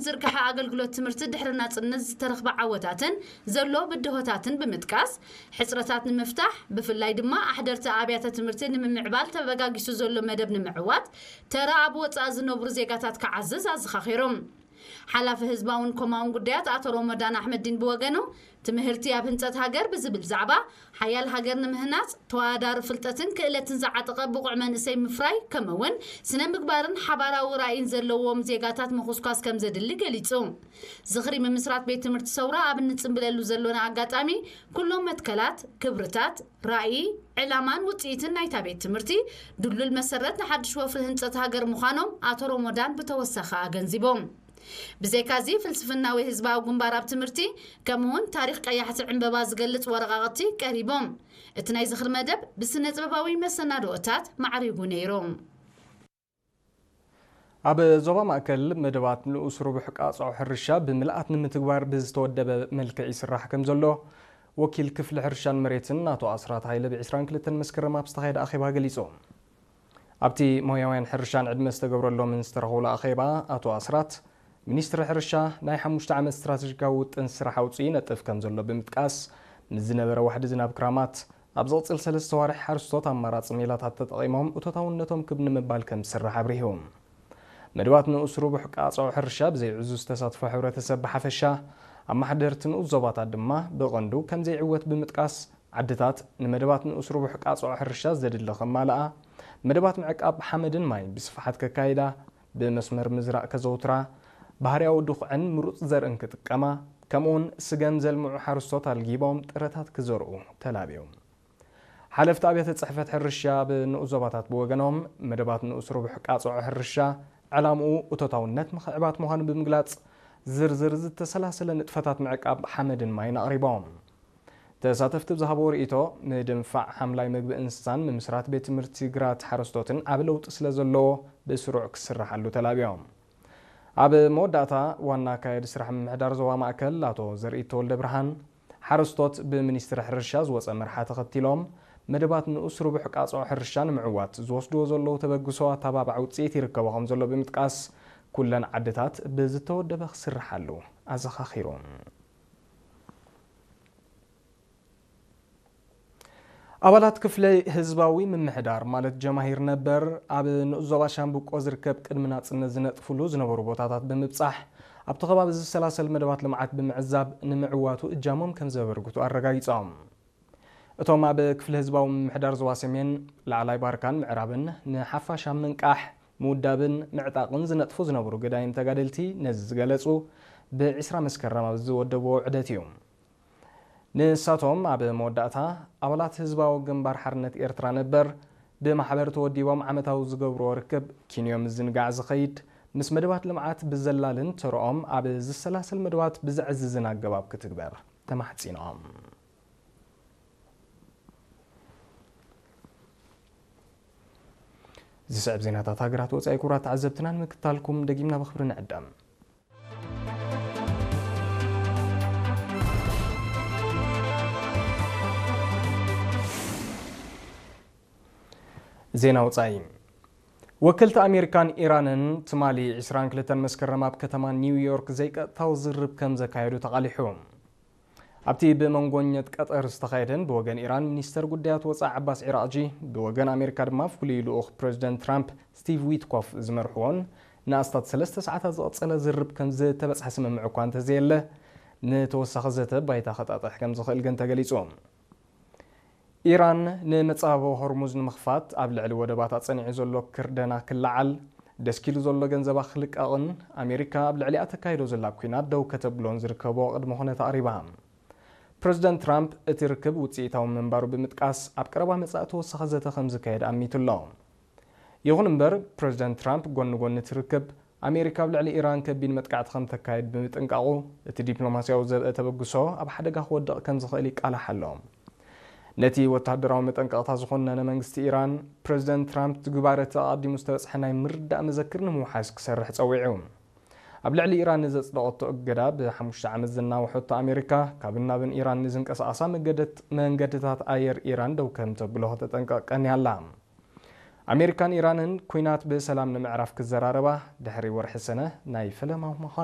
ዝርግሐ ኣገልግሎት ትምህርቲ ድሕሪ ናጽነት ዝተረኽበ ዓወታትን ዘሎ ብድሆታትን ብምጥቃስ፣ ሕጽረታት ንምፍታሕ፣ ብፍላይ ድማ ኣሕደርቲ ኣብያተ ትምህርቲ ንምምዕባል ተበጋጊሱ ዘሎ መደብ ንምዕዋት፣ ተራ ኣብ ወጻኢ ዝነብሩ ዜጋታት ክዓዝዝ ኣዘኻኺሮም። ሓላፊ ህዝባውን ኮማውን ጉዳያት ኣቶ ሮሞዳን ኣሕመዲን ብወገኑ፣ ትምህርቲ ኣብ ህንጸት ሃገር ብዝብል ዛዕባ፣ ሓያል ሃገር ንምህናጽ ተወዳዳሪ ፍልጠትን ክእለትን ዝዓጠቐ ብቑዕ መንእሰይ ምፍራይ፣ ከምኡ'ውን ስነ ምግባርን ሓባራዊ ራእይን ዘለዎም ዜጋታት ምኹስኳስ ከም ዘድሊ ገሊጹ። ዝኽሪ ምምስራት ቤት ትምህርቲ ሰውራ ኣብ እንጽንብለሉ ዘሎና ኣጋጣሚ፣ ኩሎም መትከላት፣ ክብርታት፣ ራእይ፣ ዕላማን ውጽኢትን ናይታ ቤት ትምህርቲ ድሉል መሰረት ንሓድሽ ወፍሪ ህንጸት ሃገር ምዃኖም ኣቶ ሮሞዳን ብተወሳኺ ኣገንዚቦም። ብዘይካዚ፣ ፍልስፍናዊ ህዝባዊ ግንባር ኣብ ትምህርቲ፣ ከምኡ'ውን ታሪኽ ቀያሕቲ ዕምበባ ዝገልጽ ወረቓቕቲ ቀሪቦም። እቲ ናይ ዝኽሪ መደብ ብስነ ጥበባዊ መሰናድኦታት ማዕሪጉ ነይሩ። ኣብ ዞባ ማእከል መደባት ንኡስ ርቡሕ ቃጽዖ ሕርሻ ብምልኣት ንምትግባር ብዝተወደበ መልክዕ ይስራሕ ከም ዘሎ ወኪል ክፍሊ ሕርሻን መሬትን ኣቶ ኣስራት ሃይለ ብ ዕስራን ክልተን መስከረም ኣብ ዝተኻየደ ኣኼባ ገሊጹ። ኣብቲ ሞያውያን ሕርሻን ዕድመ ዝተገብረሎምን ዝተረኸቡሉ ኣኼባ ኣቶ ኣስራት፣ ሚኒስትሪ ሕርሻ ናይ ሓሙሽተ ዓመት ስትራተጂካዊ ውጥን ስራሕ ኣውጺኡ ይነጥፍ ከም ዘሎ ብምጥቃስ፣ ምስ ዝነበረ ዋሕዲ ዝናብ ክራማት፣ ኣብ ዝቕጽል ሰለስተ ዋርሕ ሓረስቶት ኣማራጺ ሜላታት ተጠቒሞም እቶታውነቶም ክብ ንምባል ከም ዝስራሕ ኣብሪሁ። መደባት ንኡስ ርቡሕ ቃጽዖ ሕርሻ ብዘይ ዕዙዝ ተሳትፎ ሕብረተሰብ ብሓፈሻ፣ ኣመሓደርቲ ንኡስ ዞባታት ድማ ብቐንዱ ከም ዘይዕወት ብምጥቃስ፣ ዓድታት ንመደባት ንኡስ ርቡሕ ቃጽዖ ሕርሻ ዘድሊ ከማልኣ፣ መደባት ምዕቃብ ሓመድን ማይን ብስፍሓት ከካይዳ፣ ብመስመር ምዝራእ ከዘውትራ፣ ባህርያዊ ድኹዕን ምሩጽ ዘርእን ክጥቀማ፣ ከምኡውን ስገም ዘልምዑ ሓረስቶት ኣልጊቦም ጥረታት ክዘርኡ ተላብዮም። ሓለፍቲ ኣብያተ ጽሕፈት ሕርሻ ኣብ ንኡስ ዞባታት ብወገኖም፣ መደባት ንኡስ ርቡሕ ቃጽዖ ሕርሻ ዕላምኡ እቶታውነት ምኽዕባት ምዃኑ ብምግላጽ፣ ዝርዝር ዝተሰላሰለ ንጥፈታት ምዕቃብ ሓመድን ማይን ኣቕሪቦም። ተሳተፍቲ ብዝሃብዎ ርእይቶ፣ ምድንፋዕ ሓምላይ ምግቢ እንስሳን ምምስራት ቤት ትምህርቲ ግራት ሓረስቶትን ዓቢ ለውጢ ስለ ዘለዎ ብስሩዕ ክስርሓሉ ተላብዮም። ኣብ መወዳእታ፣ ዋና ኣካያዲ ስራሕ ምምሕዳር ዞባ ማእከል ኣቶ ዘርኢ ተወልደ ብርሃን፣ ሓረስቶት ብሚኒስትሪ ሕርሻ ዝወጸ መርሓ ተኸቲሎም፣ መደባት ንኡስ ርቡሕ ቃጽዖ ሕርሻ ንምዕዋት ዝወስድዎ ዘለዉ ተበግሶ ኣተባባዕ ውጽኢት ይርከቦ ከም ዘሎ ብምጥቃስ፣ ኩለን ዓድታት ብዝተወደበ ክስርሓሉ ኣዘኻኺሩ። ኣባላት ክፍሊ ህዝባዊ ምምሕዳር ማለት ጀማሂር ነበር ኣብ ንኡስ ዞባ ሻምብቆ ዝርከብ ቅድሚ ናጽነት ዝነጥፍሉ ዝነበሩ ቦታታት ብምብጻሕ ኣብቲ ከባቢ ዝሰላሰል መደባት ልምዓት ብምዕዛብ ንምዕዋቱ እጃሞም ከም ዘበርክቱ ኣረጋጊጾም። እቶም ኣብ ክፍሊ ህዝባዊ ምምሕዳር ዞባ ሰሜን ላዕላይ ባርካን ምዕራብን ንሓፋሽ ኣብ ምንቃሕ፣ ምውዳብን ምዕጣቕን ዝነጥፉ ዝነበሩ ገዳይም ተጋደልቲ ነዚ ዝገለጹ ብ ዕስራ መስከረም ኣብ ዝወደብዎ ውዕደት እዩ። ንሳቶም ኣብ መወዳእታ ኣባላት ህዝባዊ ግንባር ሓርነት ኤርትራ ነበር ብማሕበር ተወዲቦም ዓመታዊ ዝገብርዎ ርክብ ኪንዮ ምዝንጋዕ ዝኸይድ ምስ መደባት ልምዓት ብዘላልን ተርኦም ኣብ ዝሰላሰል መደባት ብዘዕዝዝን ኣገባብ ክትግበር ተማሕጺኖም። ዝስዕብ ዜናታት ሃገራት ወጻኢ ክቡራት ተዓዘብትና ንምክታልኩም ደጊምና ብኽብሪ ንዕደም። ዜና ወጻኢ። ወከልቲ ኣሜሪካን ኢራንን ትማሊ ዕስራን ክልተን መስከረም ኣብ ከተማ ኒውዮርክ ዘይቀጥታዊ ዝርብ ከም ዘካየዱ ተቓሊሑ። ኣብቲ ብመንጎኘት ቀጠር ዝተኻየደን ብወገን ኢራን ሚኒስተር ጉዳያት ወጻኢ ዓባስ ዒራቕጂ፣ ብወገን ኣሜሪካ ድማ ፍሉይ ልኡኽ ፕረዚደንት ትራምፕ ስቲቭ ዊትኮፍ ዝመርሕዎን ንኣስታት ሰለስተ ሰዓታት ዝቐጸለ ዝርብ ከም ዝተበጽሐ ስምምዕ እኳ እንተዘየለ፣ ንተወሳኺ ዘተ ባይታ ከጣጥሕ ከም ዝኽእል ግን ተገሊጹ። ኢራን ንመጻብቦ ሆርሙዝ ንምኽፋት ኣብ ልዕሊ ወደባታ ጸኒዑ ዘሎ ክርደና ክለዓል፣ ደስኪሉ ዘሎ ገንዘባ ክልቀቕን ኣሜሪካ ኣብ ልዕሊኣ ተካይዶ ዘላ ኲናት ደው ከተብሎን ዝርከቦ ቅድመ ኩነት ኣቕሪባ። ፕረዚደንት ትራምፕ እቲ ርክብ ውጽኢታዊ ምንባሩ ብምጥቃስ፣ ኣብ ቀረባ መጻኢ ተወሳኺ ዘተ ከም ዝካየድ ኣሚቱ ኣሎ። ይኹን እምበር፣ ፕረዚደንት ትራምፕ ጎኒ ጎኒ እቲ ርክብ፣ ኣሜሪካ ኣብ ልዕሊ ኢራን ከቢድ መጥቃዕቲ ከም ተካይድ ብምጥንቃቑ፣ እቲ ዲፕሎማስያዊ ዘብአ ተበግሶ ኣብ ሓደጋ ክወድቕ ከም ዝኽእል ይቃላሕ ኣሎ። ነቲ ወተሃደራዊ መጠንቀቕታ ዝኾነነ መንግስቲ ኢራን፣ ፕረዚደንት ትራምፕ ትግባረ እቲ ኣቐዲሙ ዝተበጽሐ ናይ ምርዳእ መዘክር ንምውሓስ ክሰርሕ ጸዊዑ። ኣብ ልዕሊ ኢራን ንዘጽደቐቶ እገዳ ብሓሙሽተ ዓመት ዘናውሐቶ ኣሜሪካ፣ ካብን ናብን ኢራን ንዝንቀሳቐሳ መገደት-፣ መንገድታት ኣየር ኢራን ደው ከም ተብሎ ከተጠንቀቕ ቀንያ ኣላ። ኣሜሪካን ኢራንን ኲናት ብሰላም ንምዕራፍ ክዘራረባ ድሕሪ ወርሒ ሰነ ናይ ፈለማ ምዃኑ